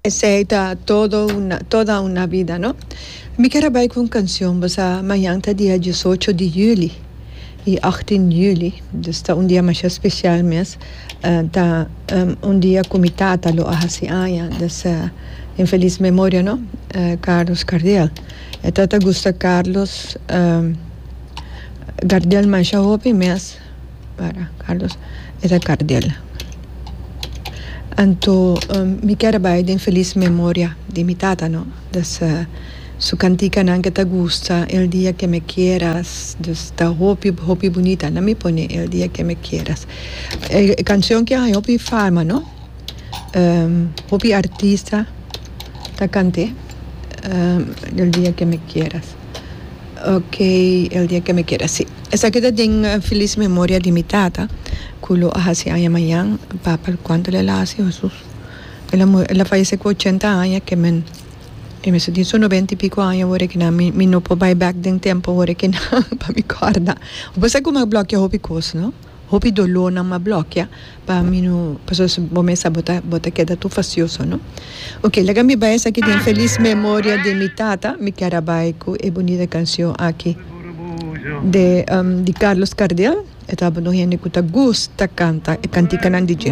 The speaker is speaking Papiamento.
Esey ta todo una toda una vida no. Mi kier a bay cu un cancion bo sa mañan ta dia diesocho di juli y achttien juli dus ta un dia masha special mes ta un dia cu mi tata lo a haci aña dus en feliz memoria no Carlos Cardiel e tata gusta Carlos Gardel masha hopi mes. Para Carlos e ta Cardel. Anto mi kier bai den feliz memoria di mi tata no. Dus su kantikanan ke ta gusta El dia que me quieras dus ta hopi hopi bunita. Na mi pone El dia que me quieras. E cancion ke a haña hopi fama no. Hopi artista ta kant'é El dia que me quieras. Ok, El dia que me quieras, sí. Esaki ta den feliz memoria di mi tata cu lo a haci aña mañan. Papa, cuanto el a haci, Hesus? El a muri, el a fayece cu ochenta aña, ke men e mester tin su noventa y pico aña awor aki nan. Mi, mi no por bay bek den tempo awor aki nan pa mi corda. Bo sa cu mi a blokia hopi cos, no? Hopi dolónan m'a blòkia pa mi no pasobra si bo mesa bo ta bo ta keda tur fastioso no. Ok laga mi bai esaki den felis memoria di mi tata mi kier a bai ku e bunita kansion aki de di Carlos Cardel e tabata un hende ku ta gusta kanta e kantikanan di dje.